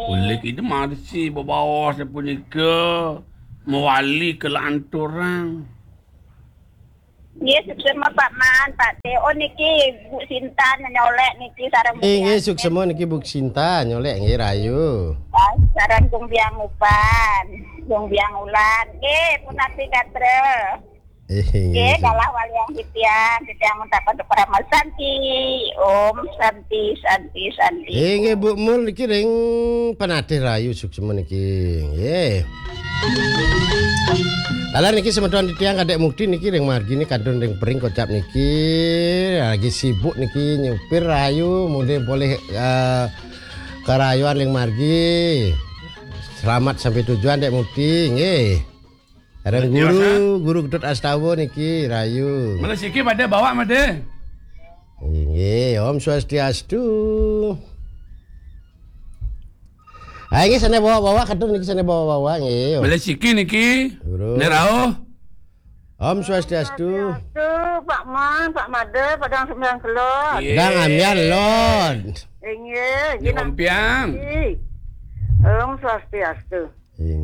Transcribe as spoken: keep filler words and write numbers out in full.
Oleh kita marsi bebaos punika mewali kelanturan. Nggih, suksma Pak Man, Pak Teo niki, Bu Sinta nyolek niki sareng Bu Eh, nggih, Biang. Suksma niki Bu Sinta nyolek nggih rahayu. Sareng Gung Biang Upan, Gung Biang Ulan. Nggih, punapi gatra. Eh, nggih, nggih, galah walian titiang, titiang muntapan parama santi. Om Santi, Santi, Santi. Eh, nggih, Bu Mul niki ring panatih rahayu suksma niki. Nggih. Lalu niki semeton titiang Kadek Mukti niki ring margi niki kantun ring pering kocap niki lagi sibuk niki nyupir rahayu mudih polih eh, karahayuan ring margi. Selamat sampai tujuan Dek Mukti nggih. Sareng Guru, Guru Ketut Astawa niki rahayu. Mula siki pada bawa made. Inggih, Om Swastiastu. Ah, inggih, sana bawa-bawa, katun niki sana bawa-bawa, nggih. Mula siki niki. Guru. Nerau. Om Swastiastu. Swastiastu, Pak Man, Pak Made, padang sembilan kelon. Nggih. Dang amian lon. Inggih, Nggih, Om Piang. Om Swastiastu. Inggih.